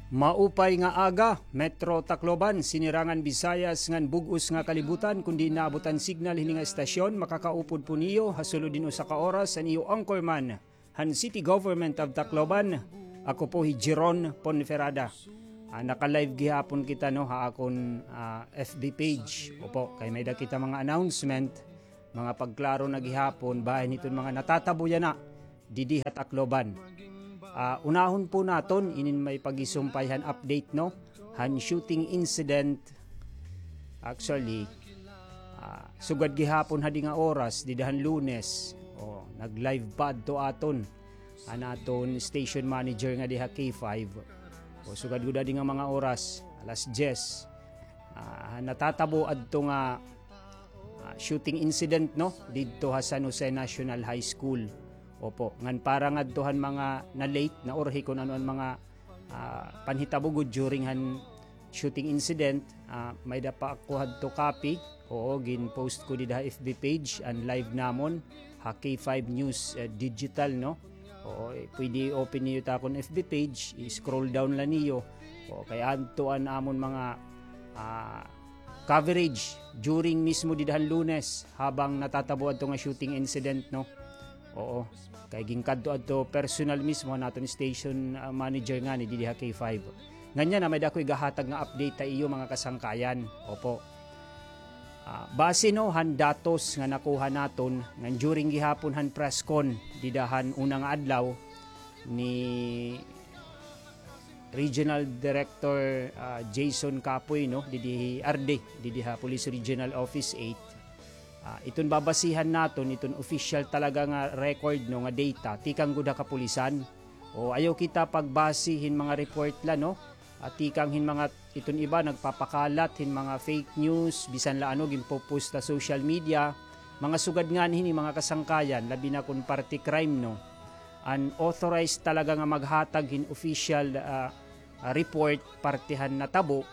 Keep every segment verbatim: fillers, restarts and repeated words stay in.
Maupay nga aga, Metro Tacloban, Sinirangan Visayas ngan bug-os nga kalibutan. Kon diin naabot an signal hini nga estasyon, makakaupod po niyo ha sulod hin usa ka oras an iyo anchorman han City Government of Tacloban. Ako po hi Jeron Ponferrada. Ah, naka-live gihapon kita, no, ha akon, ah, F B page. Opo, kay may-ada kita mga announcement, mga pagklaro na gihapon bahin hiton mga natatabo yana didi ha Tacloban. Ah, unahon po naton inin may pagisumpay han update, no, han shooting incident. Actually, ah, sugad gihapon hadi nga oras, dida han Lunes, o, nag-live pa adto aton an aton station manager nga diha K five. O, sugad gud hadi nga mga oras, alas diyes, ah, natatabo adto nga, ah, shooting incident, no, didto ha San Jose National High School. Opo, ngan para ngadto han mga na-late, naurhi kon ano an mga, ah, panhitabo gud during han shooting incident, ah, may-ada pa ako hadto copy. Oo, gin-post ko dida ha F B page an live namon ha K five News, eh, Digital, no? Oo, eh, pwede open niyo ta akon F B page, i-scroll down la niyo. Oo, kay adto an amon mga, ah, coverage during mismo dida han Lunes habang natatabo adto nga shooting incident, no? Oo. Kay ginkadto adto personal mismo han aton station, ah, manager ngani didi ha K five. Ngan yana may-ada ako igahatag nga update ha iyo, mga kasangkayan. Opo. Ah, base, no, han datos nga nakuha naton ngan during gihapon han press con dida han una nga adlaw ni Regional Director, ah, Jason Capoy, no, didi hi R D, didi ha Police Regional Office eight. Ah, iton babasihan naton, iton official talaga nga record, no, nga data, tikang gud ha kapulisan. O, ayaw kita pagbase hin mga report la, no? Ah, tikang hin mga, iton iba nagpapakalat hin mga fake news, bisan la ano, ginpo-post ha social media. Mga sugad ngani hini, mga kasangkayan, labi na kon party crime, no? Unauthorized talaga nga maghatag hin official, ah, ah, report parte han natabo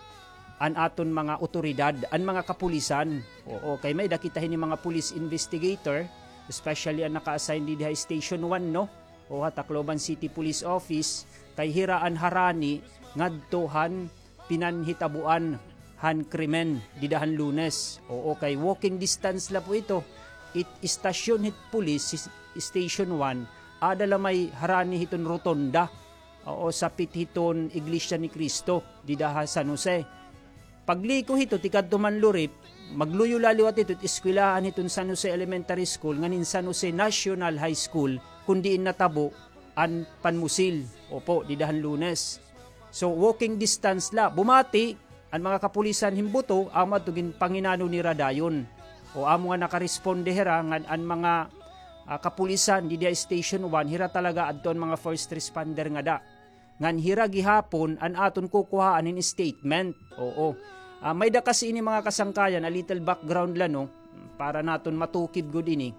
an aton mga awtoridad, an mga kapulisan. Oo, kay may-ada kita hini mga police investigator, especially an naka-assign didi ha Station one, no? O ha Tacloban City Police Office, kay hira an harani ngadto han pinanhitabuan han krimen dida han Lunes. Oo, kay walking distance la po ito. It, istasyon hit police, sis-, Station one, aada la may harani hiton rotonda. Oo, sapit hiton Iglesia ni Cristo dida ha San Jose. Pagliko hito, tikadto man Lurip, magluyo la liwat hito it eskwelahan hiton San Jose Elementary School, ngan hin San Jose National High School, kon diin natabo an panmusil. Opo, dida han Lunes. So, walking distance la. Bumati an mga kapulisan hin buto, amo adto ginpanginano nira dayon. O amo nga nakaresponde hira ngan an mga, ah, kapulisan didi ha Station one, hira talaga adto an mga first responder ngada. Ngan hira gihapon an aton kukuhaan hin statement. Oo. Ah, may-ada kasi ini mga kasangkayan, a little background la, no, para naton matukib gud ini.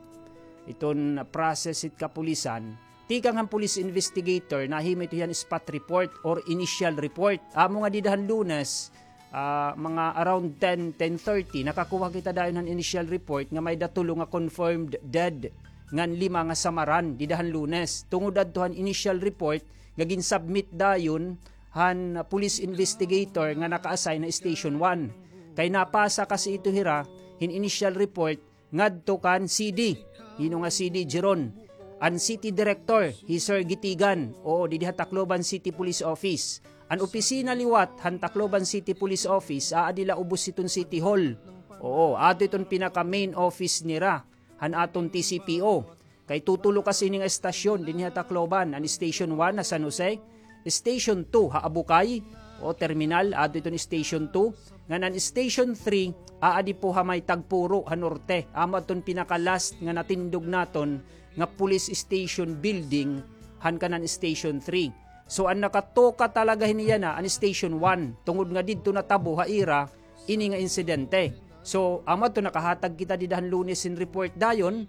Iton process hit kapulisan. Tikang han police investigator, nahimo ito hiya hin spot report or initial report. Amo nga dida han Lunes, ah, mga around ten, ten thirty, nakakuha kita dayon han initial report nga may-ada tulo nga confirmed dead ngan lima nga samaran dida han Lunes. Tungod adto han initial report nga gin-submit dayon han police investigator nga naka-assign ha Station one. Kay napasa kasi ito hira hin initial report ngadto kan C D. Hino nga C D, Jeron? An city director, hi Sir Gitigan. Oo, didi ha Tacloban City Police Office. An opisina liwat han Tacloban City Police Office, aadi la ubos hiton City Hall. Oo, adto iton pinaka main office nira han aton T C P O. Kay tutulo kasi ini nga estasyon dinhi ha Tacloban, an Station one ha San Jose, Station two ha Abucay, o terminal, adto iton Station two, ngan an Station three, aadi po ha may Tagpuro ha Norte. Amo adton pinaka-last nga natindog naton nga police station building han kanan Station three. So, an nakatoka talaga hini yana, an Station one, tungod nga didto natabo ha ira ini nga insidente. So, amo adto nakahatag kita dida han Lunes hin report dayon.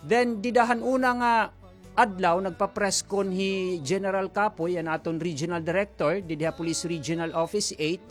Then, dida han una nga adlaw, nagpa-press con hi General Capoy, an aton regional director, didi ha Police Regional Office eight,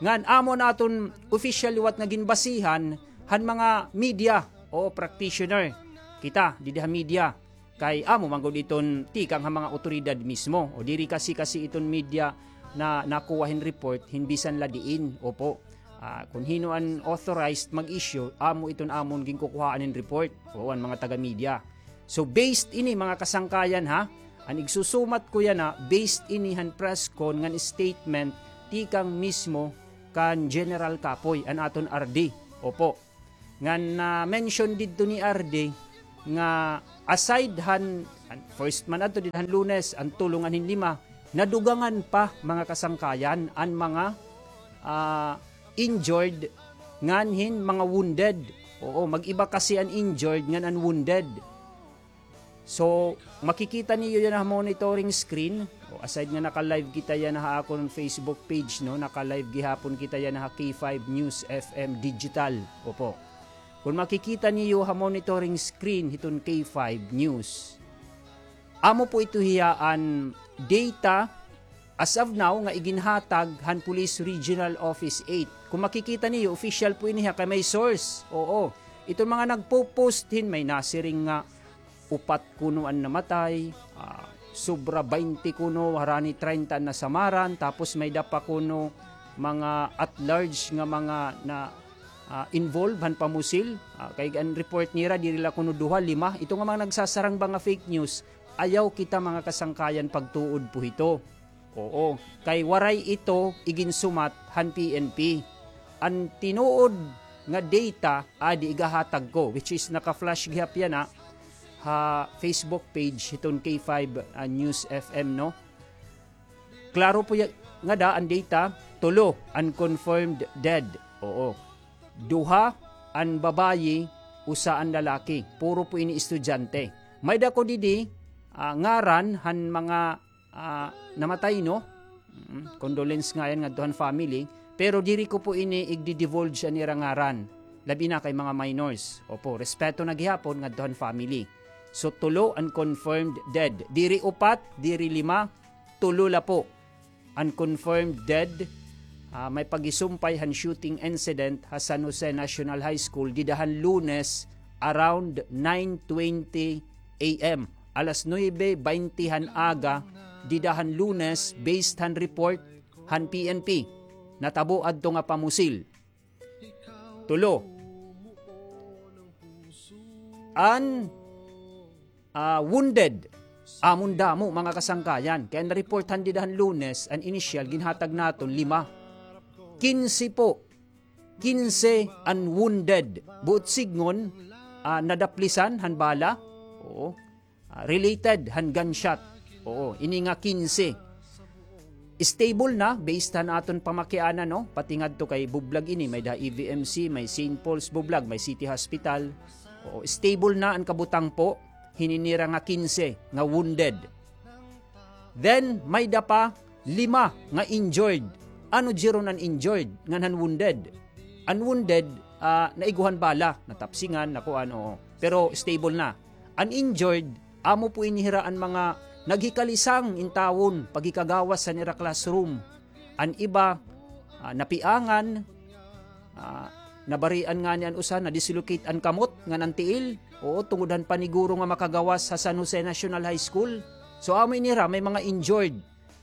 ngan amo an aton official liwat nga ginbasihan han mga media o practitioner. Kita, didi ha media. Kay amo man gud iton tikang ha mga awtoridad mismo. O diri kasi, kasi iton media, na nakuha hin report hin bisan la diin. Opo. Ah, kun hin-o an authorized mag-issue, amo iton amon ginkukuhaan hin report. Oo, an mga taga-media. So, based ini, mga kasangkayan, ha, an igsusumat ko yana, based ini han press con ngan statement tikang mismo kan General Kapoy, an aton R D. Opo. Ngan na-mention didto ni R D nga aside han, han first man adto dida han Lunes, an tulo ngan hin lima, nadugangan pa, mga kasangkayan, an mga, ah, injured ngan hin mga wounded. Oo, mag-iba kasi an injured ngan an wounded. So, makikita niyo yana ha monitoring screen. O, aside nga naka-live kita yana ha akon Facebook page, no? Naka-live gihapon kita yana ha K five News F M Digital. Opo. Kun makikita niyo ha monitoring screen hiton K five News, amo po ito hiya an data as of now nga iginhatag han Police Regional Office eight. Kun makikita niyo, official po ini ha, kay may source. Oo. Iton mga nagpo-post hin, may nasiring nga upat kuno an namatay, ah, sobra baynte kuno, harani treinta an nasamaran, tapos may-ada pa kuno mga at large nga mga na, ah, involved han pamusil. Ah, kay an report nira, diri la kuno duha, lima. Ito nga mga nagsasarang ba nga fake news, ayaw kita, mga kasangkayan, pagtuod po hito. Oo, kay waray ito iginsumat han P N P. An tinuod nga data, adi, igahatag ko, which is naka-flash gihap yana ha Facebook page hiton K five, ah, News F M, no? Klaro po ya-, ngada an data, tulo an confirmed dead. Oo. Duha an babayi, usa an lalaki. Puro po ini estudyante. May-ada ko didi, ah, ngaran han mga ah, namatay, no? Mm, condolence nga yan ngadto han family. Pero diri ko po ini igdi-divulge an ira ngaran. Labi na kay mga minors. Opo, respeto na gihapon ngadto han family. So, tulo an confirmed dead. Diri upat, diri lima, tulo la po an confirmed dead. Ah, may pagisumpay han shooting incident ha San Jose National High School dida han Lunes around nine twenty A M. Alas nuebe baynte han aga, dida han Lunes, based han report han P N P. Natabo adto nga pamusil. Tulo. An, ah, wounded, amon damo, mga kasangkayan. Kay an na-report han dida han Lunes, an initial, ginhatag naton, lima. Kinse po. Kinse an wounded. Buot sidngon, ah, nadaplisan han bala. Oo. Ah, related han gunshot. Oo, ini nga kinse. Stable na, based han aton pamakianan, no? Pati ngadto kay Bublag ini, may-ada E V M C, may Saint Paul's Bublag, may City Hospital. Oo, stable na an kabutang po, hini nira nga kinse nga wounded. Then, may-ada pa lima nga injured. Ano diri an injured ngan han wounded? An wounded, ah, naiguhan bala, natapsingan, nakuan, oo. Pero stable na. An injured, amo po ini hira an mga naghikalisang intawon, paghikagawas han ira classroom. An iba, ah, napiangan, ah, nabarian ngani an usa, na-dislocate an kamot ngan an tiil. Oo, tungod han paniguro nga makagawas ha San Jose National High School. So, amo ini hira, may mga injured.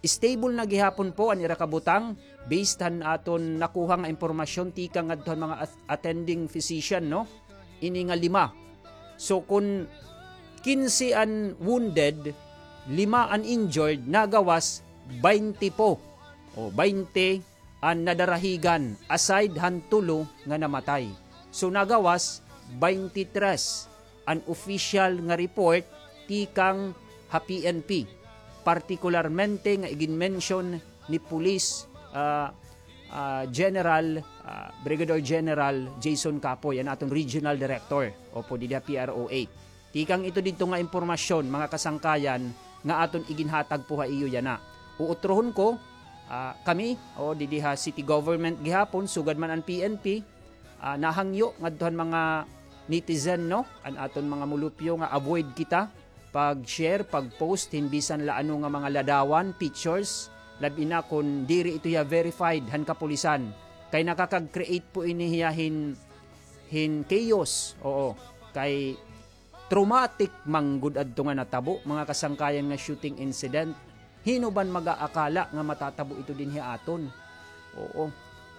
Stable na gihapon po an ira kabutang, based han aton nakuha nga impormasyon tikang ngadto han mga at-, attending physician, no? Ini nga lima. So, kun kinse an wounded, lima an injured, nagawas, baynte po. O, baynte an nadarahigan, aside han tulo nga namatay. So, nagawas, baynte tres an official nga report tikang ha P N P, partikularmente nga igin-mention ni Police, ah, ah, General, ah, Brigadier General Jason Capoy, an aton regional director, opo, didi ha P R O eight. Tikang ito didto nga impormasyon, mga kasangkayan, nga aton iginhatag po ha iyo yana. Uutrohon ko, ah, kami, o, didi ha city government gihapon, sugad man an P N P, ah, nahangyo ngadto han mga netizen, no? An aton mga mulupyo nga avoid kita pag-share, pag-post hin bisan la ano nga mga ladawan, pictures, labi na kun diri ito hiya verified han kapulisan. Kay nakakag-create po ini hiya hin, hin chaos. Oo. Kay traumatic man gud adto nga natabo, mga kasangkayan, nga shooting incident. Hino ban mag-aakala nga matatabo ito dinhi ha aton? Oo.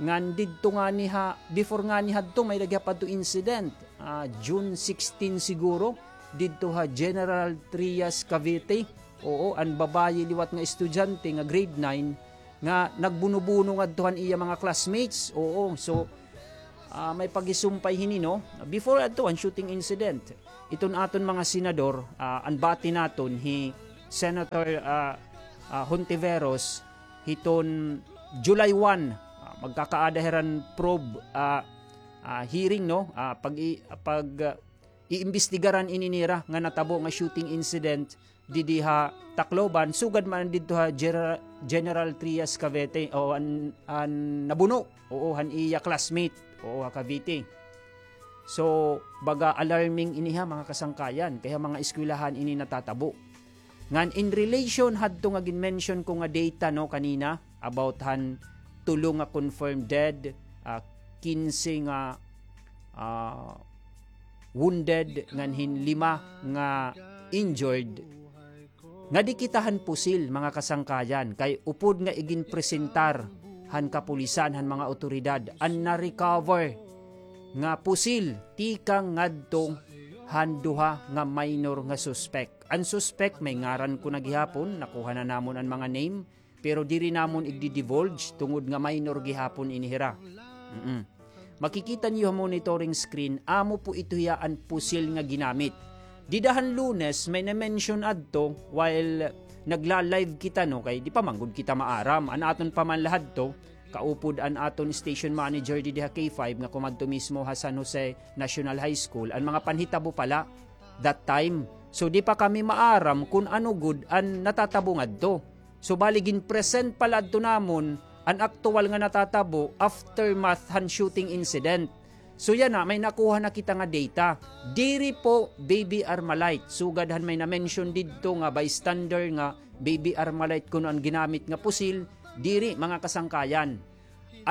Ngan didto ngani ha, before ngani hadto, may-ada gihap adto incident. Ah, June sixteen siguro, didto ha General Trias, Cavite. Oo, an babayi liwat nga estudyante nga grade nine nga nagbuno-buno ngadto han iya mga classmates. Oo, so, ah, may paghisumpay hini, no? Before adto, an shooting incident. Iton aton mga senador, ah, an bati naton hi Senator, ah, ah, Hontiveros, hiton July one, ah, magkakaada hiran probe, ah, ah, hearing, no? Ah, pag i-, pag, ah, iimbestigaran ini nira nga natabo nga shooting incident didi ha Tacloban, sugad man didto ha Gera-, General Trias, Cavite, o an, an nabuno, oo, han iya classmate, oo, ha Cavite. So, baga alarming ini ha, mga kasangkayan, kay ha mga eskwelahan ini natatabo. Ngan in relation hadto nga gin-mention ko nga data, no, kanina, about han tulo nga confirmed dead, ah, kinse nga, ah, wounded, ngan hin lima nga injured. Nga di kita han pusil, mga kasangkayan, kay upod nga iginpresentar han kapulisan, han mga awtoridad, an na-recover nga pusil tikang ngadto han duha nga minor nga suspek. An suspek, may ngaran ko na gihapon, nakuha na namon an mga name, pero diri namon igdi-divulge tungod nga minor gihapon ini hira. Mm-mm. Makikita niyo ha monitoring screen, amo po ito hiya an pusil nga ginamit. Dida han Lunes, may na-mention adto while nagla-live kita, no, kay di pa man gud kita maaram. An aton pa man la hadto, kaupod an aton station manager didi ha K five nga kumadto mismo ha San Jose National High School, an mga panhitabo pala that time. So, di pa kami maaram kun ano gud an natatabo ngadto. So, bali, gin-present pala adto namon an aktuwal nga natatabo, aftermath han shooting incident. So, yana, may nakuha na kita nga data. Diri po Baby Armalite. Sugad han may na-mention didto nga bystander nga Baby Armalite kuno an ginamit nga pusil, diri, mga kasangkayan.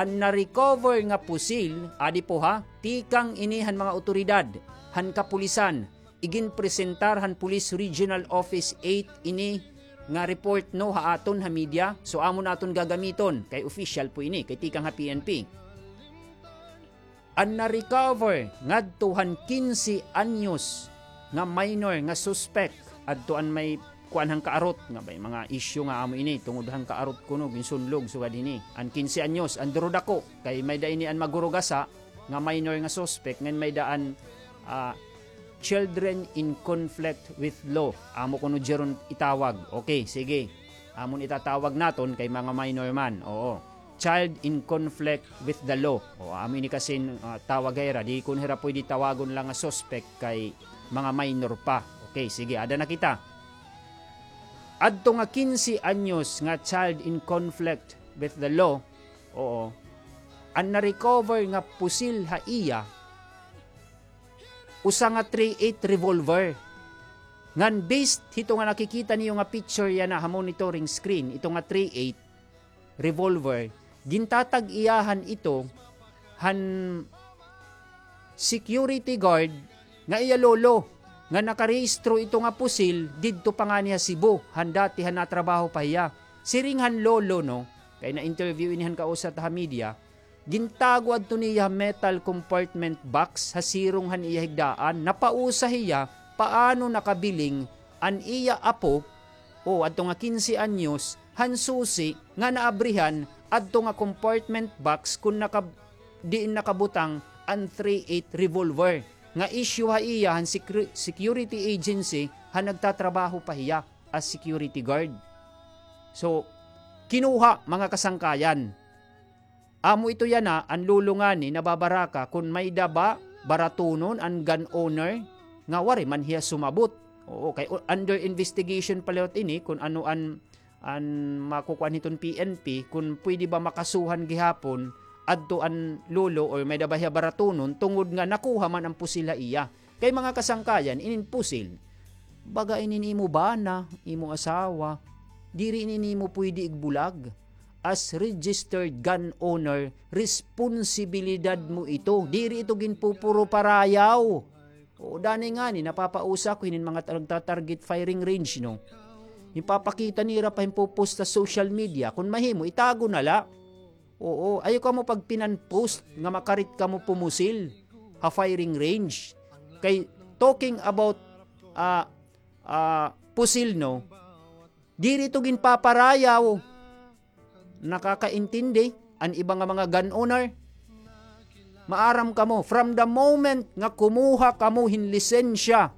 An na-recover nga pusil, adi po ha, tikang ini han mga awtoridad han kapulisan. Iginpresentar han Police Regional Office eight ini nga report, no, ha aton ha media. So, amon aton gagamiton kay official po ini, kay tikang ha P N P. An na-recover ngadto han kinse anyos nga minor nga suspek, adto an may kuan han kaarot, nga may mga issue nga amo ini tungod han kaarot kuno ginsunlog sugad hini. An kinse anyos, an duro dako, kay may-ada ini an magurugasa nga minor nga suspek, ngan may-ada an, ah, children in conflict with law. Amo kuno jeron itawag. Okay, sige. Amon itatawag naton kay mga minor man. Oo. Child in conflict with the law. O, amo ini kasi, ah, tawag hira. Di kun hira pwede tawagon la nga suspek kay mga minor pa. Okay, sige, ada na kita. Adto nga kinse anyos nga child in conflict with the law, oo, an na-recover nga pusil ha iya, usa nga three eight revolver. Ngan based hito nga nakikita niyo nga picture yana ha monitoring screen, ito nga three eight revolver, gintatag-iyahan ito han security guard nga iya lolo, nga nakarehistro ito nga pusil didto pa ngani ha Cebu, han dati han natrabaho pa hiya. Siring han lolo, no, kay na-interview ini han kausa ta ha media, gintago adto niya ha metal compartment box ha sirong han iya higdaan. Napausa hiya paano nakabiling an iya apo, o adto nga kinse anyos, han susi nga naabrihan adto nga compartment box kun naka-, diin nakabutang an three eight revolver nga issue ha iya han secre-, security agency han nagtatrabaho pa hiya as security guard. So, kinuha, mga kasangkayan. Amo ito yana, an lolo ngani nababaraka kun may-ada ba baratunon an gun owner nga waray man hiya sumabot. Oo, kay u-, under investigation pa liwat ini kun ano an, an makukuan hiton P N P, kun pwede ba makasuhan gihapon adto an lolo or may-ada ba hiya baratunon tungod nga nakuha man an pusil ha iya. Kay mga kasangkayan, inin pusil, baga inin imo bana, imo asawa, diri inin imo pwede igbulag. As registered gun owner, responsibilidad mo ito. Diri ito ginpupuro parayaw. O, danay ngani, napapausa ko hinin mga ta-, nagta-target firing range, no? Ginpapakita nira pa, ginpo-post ha social media. Kon mahimo, itago na la. Oo, ayaw kamo pagpinan-post nga makarit kamo pumusil ha firing range. Kay talking about, ah, ah, pusil, no? Diri ito ginpaparayaw. Nakakaintindi an iba nga mga gun owner? Maaram kamo, from the moment nga kumuha kamo hin lisensya,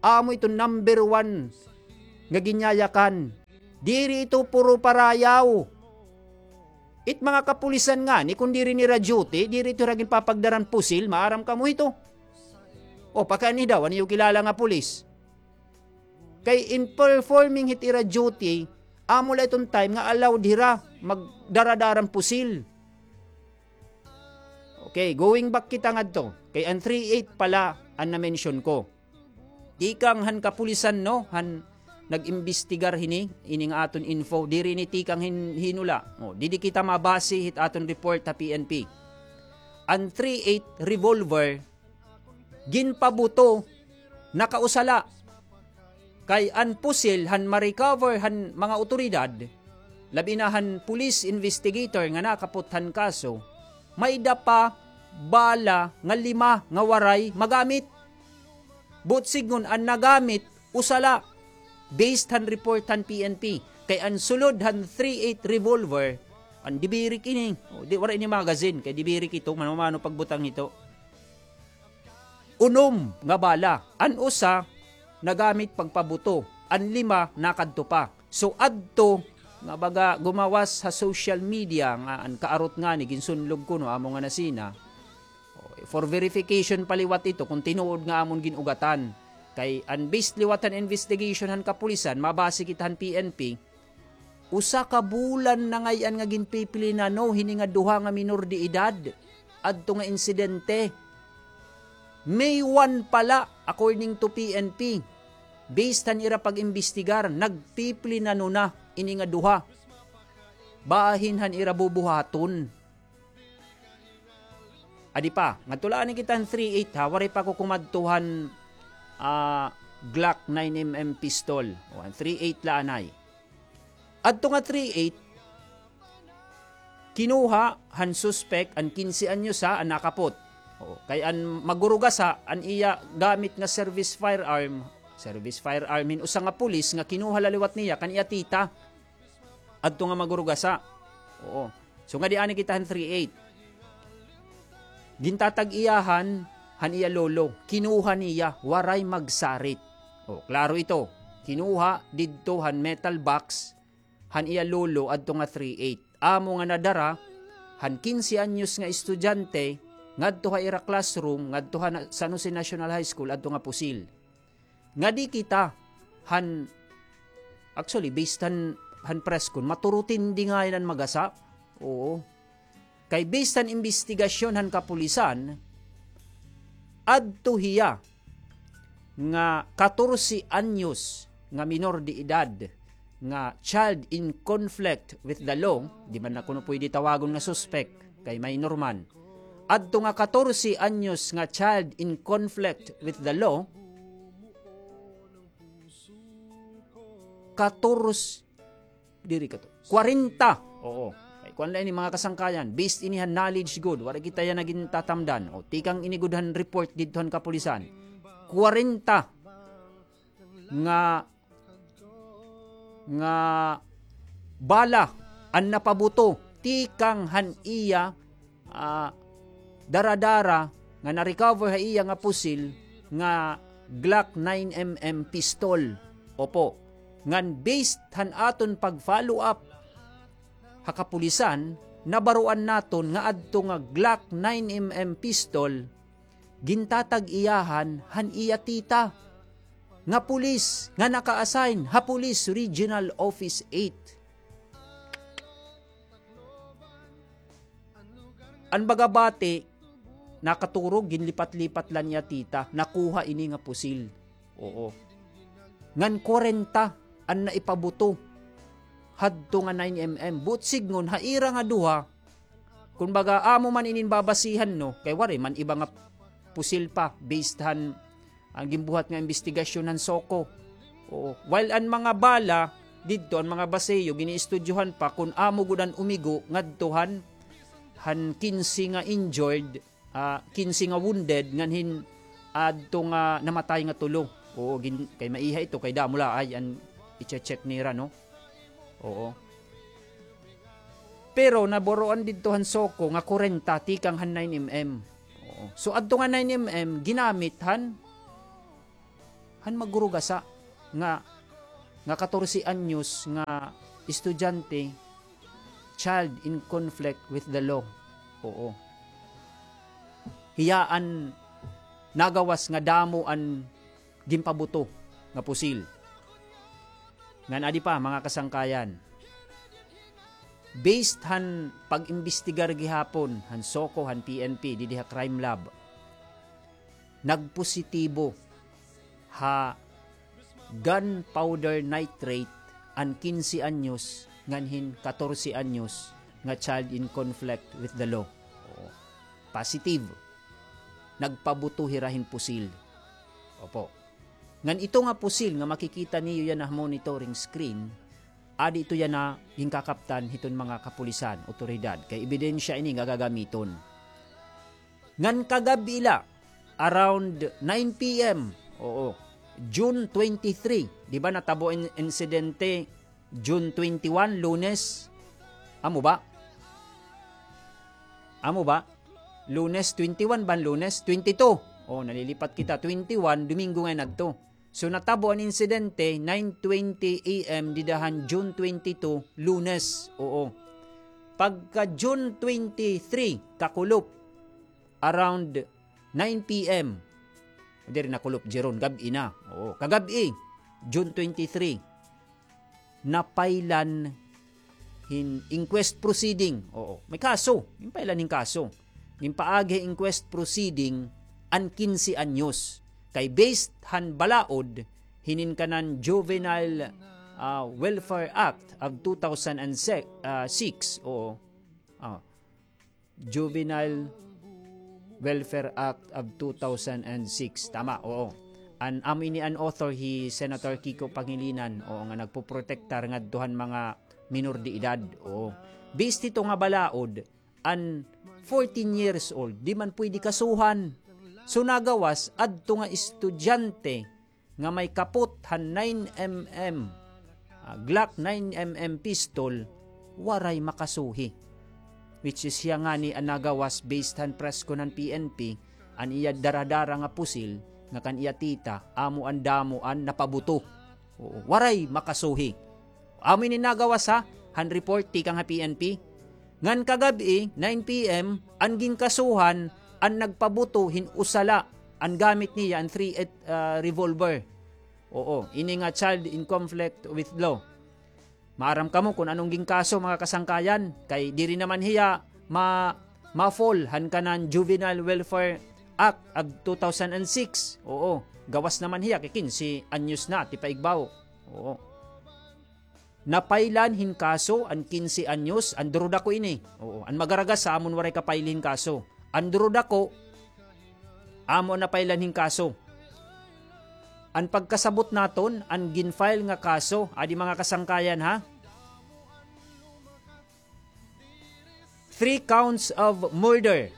amo ito number one nga ginyayakan. Diri ito puro parayaw. It mga kapulisan ngani, kon diri nira duty, diri ito hira ginpapagdaran pusil, maaram kamo ito. O, pakiana daw, an iyo kilala nga pulis. Kay in performing hit ira duty, amo la iton time nga allowed hira magdara-daran pusil. Okay, going back kita ngadto. Kay an three eight pala an na-mention ko. Tikang han kapulisan, no, han nag-imbestigar hini, ini nga aton info, diri ini tikang hin-, hinula. O, didi kita mabase hit aton report ha P N P. An three eight revolver, ginpabuto, nakausa la. Kay an pusil han ma-recover han mga awtoridad, labi na han police investigator nga nakapot han kaso, may-ada pa bala nga lima nga waray magamit. Buot sidngon an nagamit, usa la. Based han report han P N P. Kay an sulod han three eight revolver, an dibirik ini. O, di, waray ini magazine, kay dibirik ito, mano-mano pagbutang ito. Unom nga bala. An usa, nagamit pagpabuto. An lima, nakadto pa. So, adto, nga baga gumawas ha social media nga an kaarot ngani, ginsunlog kuno, amo nga nasina. O, for verification pa liwat ito, kon tinuod nga amon gin-ugatan. Kay an based liwat han investigation han kapulisan, mabase kita han P N P, usa ka bulan na ngay-an nga ginpiplinano hini nga duha nga minor de edad adto nga insidente. May one pa la, according to P N P. Based han ira pag-imbestigar, nagpiplinano na ini nga duha. Bahin han ira bubuhaton. Adi pa, ngadto la anay kita han three eight ha, waray pa ako kumadto han, ah, Glock nine M M pistol. O, an three eight la anay. Adto nga three eight, kinuha han suspek an kinse anyos ha, an nakapot. O, kay an magurugasa, an iya gamit nga service firearm, service firearm hin usa nga pulis nga kinuha la liwat niya kan iya tita. Adto nga magurugasa. Oo. So, ngadi anay kita han three eight. Gintatag-iyahan han iya lolo. Kinuha niya, waray magsarit. O, klaro ito. Kinuha didto han metal box han iya lolo adto nga three eight. Amo nga nadara han kinse anyos nga estudyante ngadto ha ira classroom, ngadto ha na-, San Jose National High School, adto nga pusil. Ngadi kita han, actually, based han, han press kon, maturutindi ngay-an an magasa. Oo. Kay based han imbestigasyon han kapulisan, adto hiya nga katorse anyos nga minor de edad nga child in conflict with the law, di man na kuno pwede tawagon nga suspek, kay minor man. Adto nga katorse anyos nga child in conflict with the law, katorse, diri kato, kwarenta. Oo. Kay kuan la ini, mga kasangkayan, based ini han knowledge gud, waray kita yana gintatamdan. O, tikang ini gud han report didto han kapulisan. Kwarenta nga, nga bala an napabuto tikang han iya, ah, dara-dara nga na-recover ha iya nga pusil nga Glock nine M M pistol. Opo. Ngan based han aton pag-follow up ha kapulisan, nabaroan naton nga adto nga Glock nine M M pistol gintatag-iyahan han iya tita nga pulis nga naka-assign ha Police Regional Office eight. An baga bati, nakaturog, ginlipat-lipat la niya tita, nakuha ini nga pusil. Oo. Ngan kwarenta an naipabuto hadto nga nine M M. Buot sidngon, ha ira nga duha, kumbaga, amo man inin babasihan, no? Kay waray man iba nga pusil pa, based han, an ginbuhat nga imbestigasyon han SOCO. Oo. While an mga bala, didto an mga baseyo, giniistudyohan pa kun amo gud an umigo ngadto han, han kinse nga injured, ah, kinse nga wounded, ngan hin adto nga namatay nga tulo. Oo, gin-, kay maiha ito, kay damo la ay an i-check nira, no? Oo. Pero naburoan didto han SOCO nga kwarenta tikang han nine M M. Oo. So, adto nga nine M M, ginamit han, han magurugasa nga, nga katorse anyos nga estudyante, child in conflict with the law. Oo. Hiya an nagawas nga damo an ginpabuto nga pusil. Ngan adi pa, mga kasangkayan. Based han pag-imbestigar gihapon han SOCO, han P N P, didi ha crime lab, nagpositibo ha gunpowder nitrate an kinse anyos ngan hin katorse anyos nga child in conflict with the law. Oo. Positive. Nagpabuto hira hin pusil. Opo. Ngan ito nga pusil nga makikita niyo yana ha monitoring screen, adi ito yana ginkakaptan hiton mga kapulisan, otoridad. Kay ebidensya ini nga gagamiton. Ngan kagab-i la, around nine P M, oo, June twenty-three, di ba natabo in-, insidente June twenty-one, Lunes? Amo ba? Amo ba? Lunes twenty-one ba an Lunes? Twenty-two. Oh, nalilipat kita. Twenty-one, Domingo ngay-an adto. So, natabo an insidente, nine twenty A M, dida han June twenty-two, Lunes. Oo. Pagka June twenty-three, kakulop, around nine P M. Diri na kulop, Jeron, gab-i na. Oo, kagab-i, June twenty-three. Napailan hin inquest proceeding. Oo, may kaso. Ginpailan hin kaso. Ginpaagi hin inquest proceeding an kinse anyos. Kay based han balaod, hinin kanan Juvenile, ah, Welfare Act of two thousand six. Oo. Ah. Juvenile Welfare Act of two thousand six. Tama, oo. An, amo ini an author, hi Senator Kiko Pangilinan, oo, nga nagpoprotektar ngadto han mga minor de edad, oo. Based hito nga balaod, an fourteen years old, di man pwede kasuhan. So, nagawas, adto nga estudyante, nga may kapot han nine M M, ah, Glock nine M M pistol, waray makasuhi. Which is hiya ngani an nagawas based han presko han P N P, an iya dara-dara nga pusil nga kan iya tita, amo an damo an napabuto. Oo, waray makasuhi. Amo ini nagawas ha, han report tikang ha P N P. Ngan kagab-i, nine P M, an ginkasuhan, an nagpabuto hin usa la, an gamit niya, an three eight, ah, revolver. Oo, ini nga child in conflict with law. Maaram kamo kon ano an ginkaso, mga kasangkayan, kay diri naman hiya ma-, ma-fall han kanan Juvenile Welfare Act of two thousand six. Oo, gawas naman hiya kay kinse anyos na, tipaigbaw. Oo. Napailan hin kaso an kinse anyos, an durudako ini. Oo, an magaragasa amon waray ka-file hin kaso. An durudako, amo an napailan hin kaso. An pagkasabot naton, an gin-file nga kaso, adi mga kasangkayan ha, three counts of murder.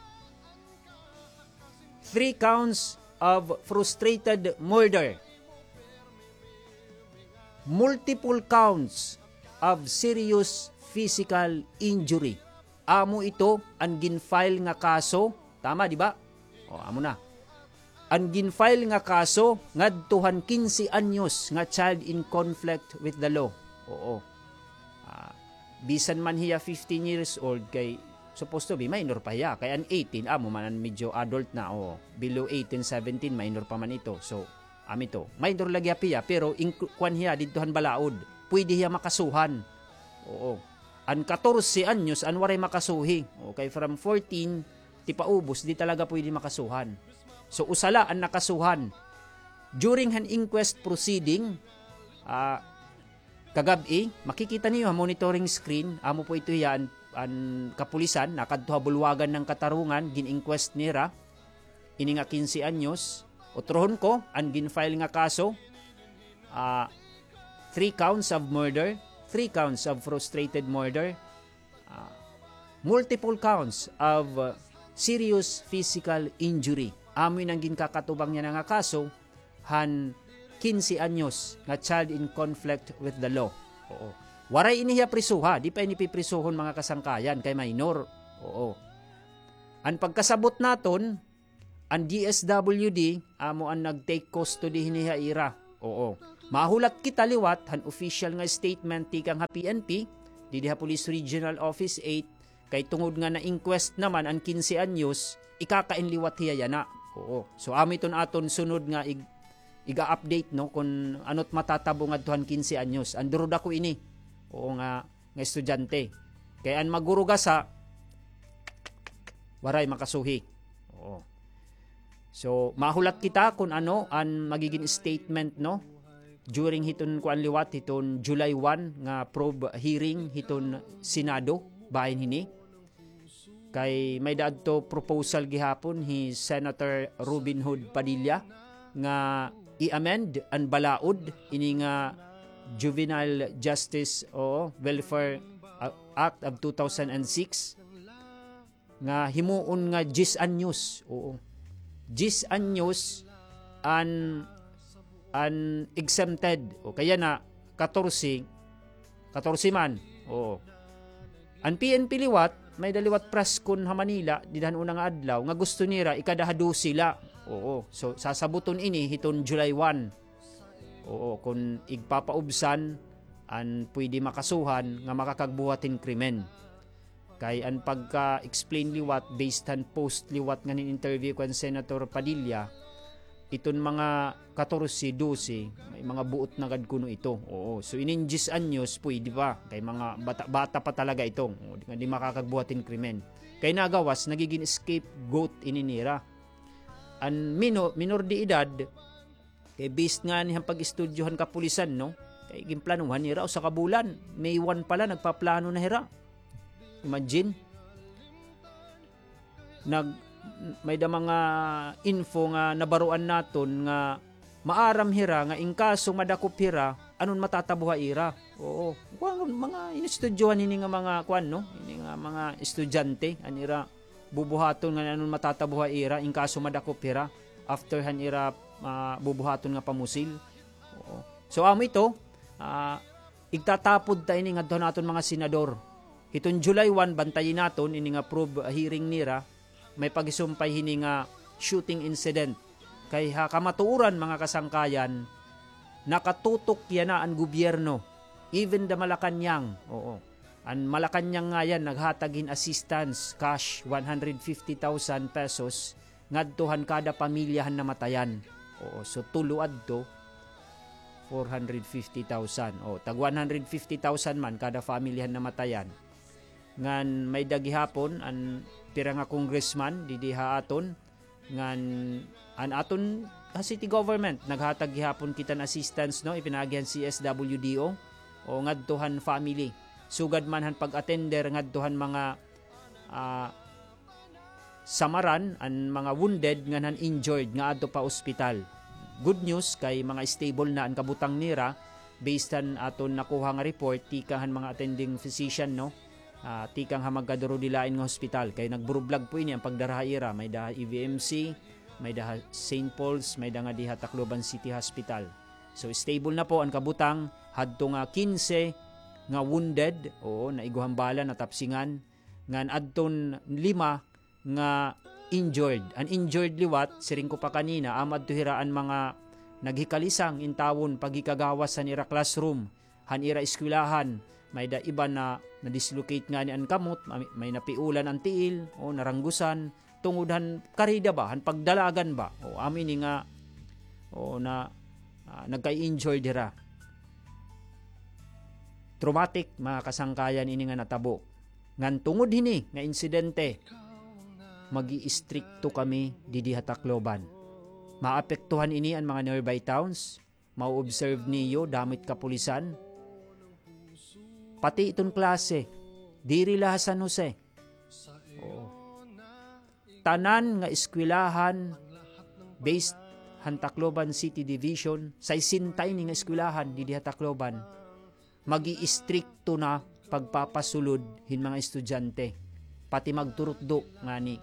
Three counts of frustrated murder. Multiple counts of serious physical injury. Amo ito an gin-file nga kaso. Tama, di ba? O, amo na. An gin-file nga kaso ngadto han kinse anyos nga child in conflict with the law. Oo. Ah, bisan man hiya fifteen years old, kay supposed to be minor pa hiya. Kay an eighteen, amo man an medyo adult na, o, below eighteen, seventeen, minor pa man ito. So, amo ito. Minor lagi hiya, pero inclu-, kuan hiya didto han balaod. Pwede hiya makasuhan. Oo. An katorse anyos, an waray makasuhi. Okay, from fourteen, tipaubos, di talaga pwede makasuhan. So, usa la an nakasuhan. During han inquest proceeding, ah, kagab-i, makikita niyo ha monitoring screen, amo po ito hiya an, an kapulisan, nakadto ha bulwagan han katarungan, gin-inquest nira, ini nga kinse anyos, utrohon ko, an gin-file nga kaso, ah, three counts of murder, three counts of frustrated murder, ah, multiple counts of, ah, serious physical injury. Amo ini an ginkakatubang niya nga kaso han kinse anyos nga child in conflict with the law. Oo. Waray ini hiya prisoha, di pa ini piprisohon, mga kasangkayan, kay minor. Oo. An pagkasabot naton, an D S W D amo an nag-take custody hini ha ira. Oo. Mahulat kita liwat han official nga statement tikang ha P N P, didi ha Police Regional Office eight, kay tungod nga na-inquest naman an kinse anyos, ikakain liwat hiya yana. Oo. So, amo iton aton sunod nga ig-, iga-update, no, kun ano't matatabo ngadto han kinse anyos. An durudako ini. Oo nga, nga estudyante. Kay an magurugasa, waray makasuhi. Oo. So, mahulat kita kun ano an magigin statement, no? During hiton kuan liwat, hiton July one nga probe hearing hiton Senado, bahin hini. Kay may-ada adto proposal gihapon hi Senator Robin Hood Padilla nga i-amend an balaod ini nga Juvenile Justice o Welfare, uh, Act of two thousand six nga himuon nga diyes anyos. Oo. Diyes anyos an, an exempted. O kaya na, katorse, katorse man. Oo. An P N P liwat, may-ada liwat press con ha Manila, dida han una nga adlaw, nga gusto nira ikada ha dose la. Oo. So, sasabuton ini hiton July one. Oo, kun igpapaubsan an pwede makasuhan nga makakagbuhat hin krimen. Kay an pagka-explain liwat, based han post liwat ngan hin interview kan Senator Padilla, iton mga katorse, dose, may mga buot na gad kuno ito. Oo, so inin diyes anyos, pwede pa. Kay mga bata, bata pa talaga ito. Oo, di, di makakagbuhat hin krimen. Kay nagawas, nagigin scapegoat ini nira. An mino-, minor de edad, kay based ngani han pag-estudyo han kapulisan, no? Kay ginplanuhan nira usa ka bulan. May one pa la, nagpaplano na hira. Imagine. Nag-, may-ada mga info nga nabaroan naton nga maaram hira nga in kaso madakop hira, ano an matatabo ha ira. Oo. Kuan, mga inestudyohan hini nga mga kuan, no? Hini nga mga estudyante, an ira bubuhaton nga ano an matatabo ha ira, in kaso madakop hira, after han ira, ah, bubuhaton nga pamusil. Oo. So, amo ito, ah, igtatapod ta ini ngadto han aton mga senador. Hiton July one, bantayi naton ini nga probe hearing nira, may pagisumpay hini nga shooting incident. Kay ha kamatuoran, mga kasangkayan, nakatutok yana an gobyerno. Even the Malacañang, oo. An Malacañang ngayan naghatag hin assistance, cash, one hundred fifty thousand pesos ngadto han kada pamilya han namatayan. Oo, so tulo adto, four hundred fifty thousand. O, tag one hundred fifty thousand man kada family han namatayan. Ngan may-ada gihapon an pira nga congressman didi ha aton, ngan an aton, ah, city government, naghatag gihapon kita hin assistance, no, ipinaagi han C S W D O, o ngadto han family. Sugad man han pag-attender ngadto han mga, ah, samaran, an mga wounded ngan han injured nga adto pa ospital. Good news kay mga stable na an kabutang nira, based han aton nakuha nga report tikang han mga attending physician, no? Ah, tikang ha magkadurodilain nga hospital. Kay nagburublag po ini an pagdara ha ira. May-ada ha E V M C, may-ada ha Saint Paul's, may-ada ngadi ha Tacloban City Hospital. So, stable na po an kabutang, hadto nga kinse nga wounded, oo, naiguhan bala, natapsingan, ngan adton lima nga injured. An injured liwat, siring ko pa kanina, amo adto hira an mga naghikalisang intawon paghikagawas han ira classroom, han ira eskwelahan. May-ada iba na na-dislocate ngani an kamot, may, may napiulan an tiil, o naranggusan, tungod han karida ba, han pagdalagan ba. O, amo ini nga, o, na, ah, nagka-injured hira. Traumatic, mga kasangkayan, ini nga natabo. Ngan tungod hini nga insidente, mag-iistrikto kami didi ha Tacloban. Maapektuhan ini an mga nearby towns, ma-observe niyo, damo it kapulisan. Pati iton klase, diri la ha San Jose. Oo. Tanan nga eskwelahan based han Tacloban City Division, saysenta ini nga eskwelahan didi ha Tacloban, mag-iistrikto na pagpapasulod hin mga estudyante, pati magturutdo ngani.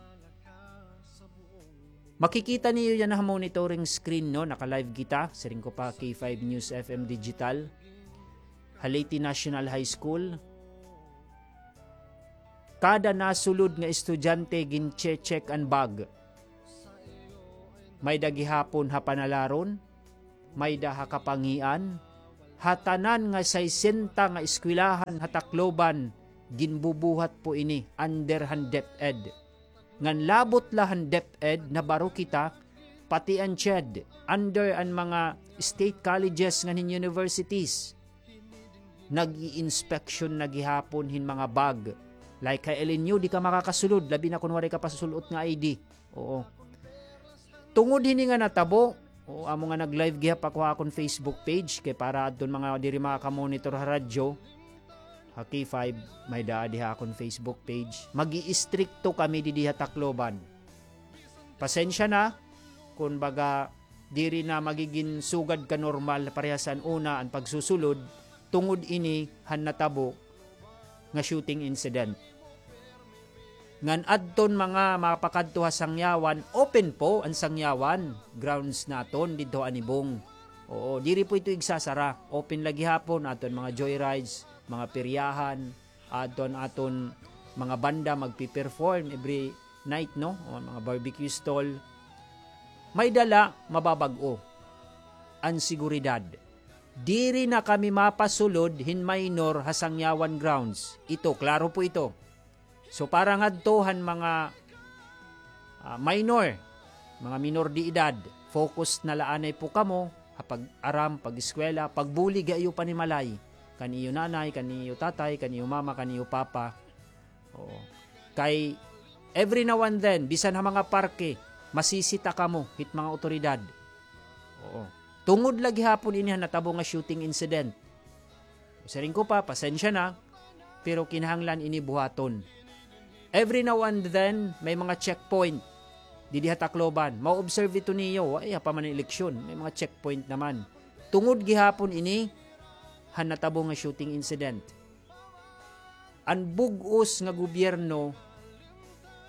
Makikita niyo yana ha monitoring screen, no? Naka-live kita, siring ko pa, K five News F M Digital, ha Leyte National High School. Kada nasulod nga estudyante, gin-che-check an bag. May-ada gihapon ha Panalaron, may-ada ha Kapangian, ha tanan nga saysenta nga eskwelahan ha Tacloban, ginbubuhat po ini under han DepEd. Ngan labot la han DepEd, nabaro kita, pati an CHED, under an mga state colleges ngan hin universities, nag-i-inspection na gihapon hin mga bag. Like ha L N U, di ka makakasulod, labi na kon waray ka pasul-ot nga I D. Oo. Tungod hini nga natabo, oo, amo nga nag-live gihap ako ha akon Facebook page, kay para adton mga diri makakamonitor ha radyo, ha K five, may-ada adi ha akon Facebook page. Mag-iistrikto kami didi ha Tacloban. Pasensya na, kun baga diri na magigin sugad ka normal parehas an una an pagsusulod, tungod ini han natabo nga shooting incident. Ngan adton mga mapakadto ha Sangyawan, open po an Sangyawan grounds naton didto ha Anibong. Oo, diri po ito igsasara. Open la gihapon, adton mga joyrides, mga peryahan, adton aton mga banda magpe-perform every night, no? O, mga barbecue stall. May-ada la, mababag-o an seguridad. Diri na kami mapasulod hin minor ha Sangyawan grounds. Ito, klaro po ito. So, para ngadto han mga, ah, minor, mga minor de edad, focus na la anay po kamo ha pag-aram, pag-eskwela, pagbulig ha iyo panimalay, kan iyo nanay, kan iyo tatay, kan iyo mama, kan iyo papa. Oo. Kay every now and then, bisan ha mga parke, masisita kamo hit mga awtoridad. Oo. Tungod la gihapon ini han natabo nga shooting incident. Siring ko pa, pasensya na, pero kinahanglan ini buhaton. Every now and then, may mga checkpoint didi ha Tacloban. Ma-observe ito niyo, ay, ha pa man an eleksyon, may mga checkpoint naman. Tungod gihapon ini han natabo nga shooting incident. An bug-os nga gobyerno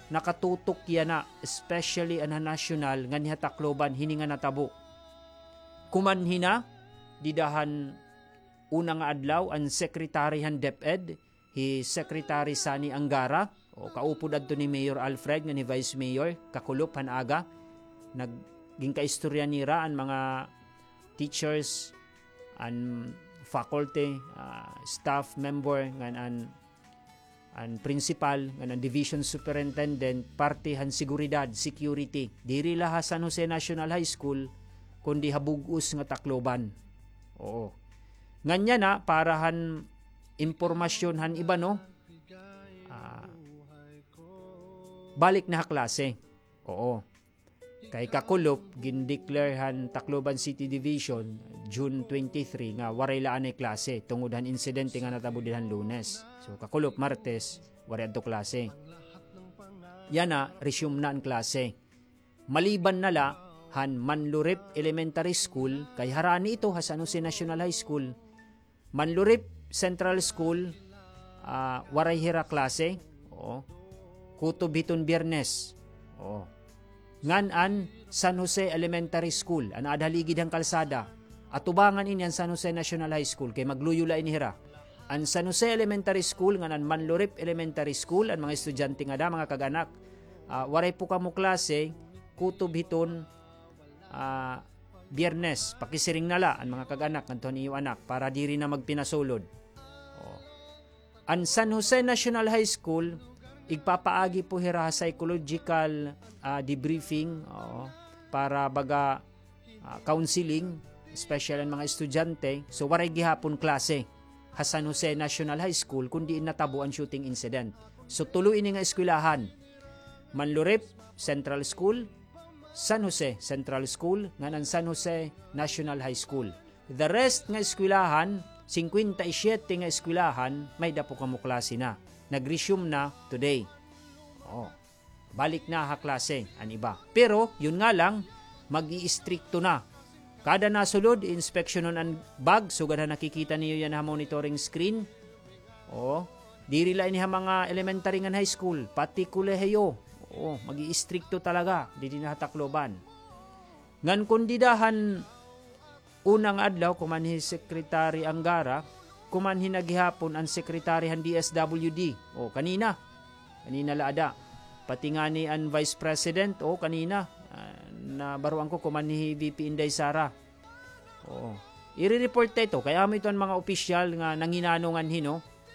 nakatutok yana, especially an ha nasyonal ngan ha Tacloban, hini nga natabo. Kumanhi na, dida han una nga adlaw, an secretary han DepEd, hi Secretary Sonny Angara, o, kaupod adto ni Mayor Alfred ngan hi Vice Mayor, kakulop han aga, nag-, ginkaistorya nira an mga teachers, an faculty, ah, staff member, ngan an, an principal, ngan an division superintendent, parte han seguridad, security. Diri la ha San Jose National High School, kundi ha bug-os nga Tacloban. Oo. Ngan yana, para han impormasyon han iba, no? Ah, balik na ha klase. Oo. Kay kakulop, gin-declare han Tacloban City Division, June twenty-three, nga waray la anay klase tungod han insidente nga natabo dida han Lunes. So, kakulop, Martes, waray adto klase. Yana, resume na an klase. Maliban na la han Manlurip Elementary School, kay harani ito ha San Jose National High School, Manlurip Central School, ah, waray hira klase. Oo. Kutob hiton Biyernes. Oo. Ngan an San Jose Elementary School, an aada ha ligid han kalsada. Atubangan ini an San Jose National High School, kay magluyo la ini hira. An San Jose Elementary School ngan an Manlurip Elementary School, an mga estudyante ngada, mga kag-anak, ah, waray po kamo klase, kutob hiton ah, Biyernes, pakisiring na la an mga kag-anak ngadto han iyo anak para diri na magpinasulod. O. An San Jose National High School, igpapaagi po hira ha psychological, ah, debriefing, o, para baga, ah, counseling, special an mga estudyante. So, waray gihapon klase ha San Jose National High School kun diin natabo an shooting incident. So, tulo ini nga eskwelahan. Manlurip Central School, San Jose Central School, ngan an San Jose National High School. The rest nga eskwelahan, singkwenta y siyete nga eskwelahan, may-ada po kamo klase na. Nag-resume na today. Oo. Balik na ha klase an iba. Pero, yun nga lang, mag-iistrikto na. Kada nasulod, inspeksyonon an bag, sugad ha nakikita niyo yana ha monitoring screen. O, diri la ini ha mga elementary ngan high school, pati kolehiyo. O, mag-iistrikto talaga, didi na ha Tacloban. Ngan kon dida han una nga adlaw, kumanhi Secretary Angara, kumanhi na gihapon an Secretary han D S W D. O, kanina. Kanina la ada. Pati ngani an Vice President, o, kanina. Ah, nabaroan ko, kumanhi V P Inday Sara. Oo. Ire-report ta ito. Kay amo ito an mga opisyal nga nanginano nganhi, no?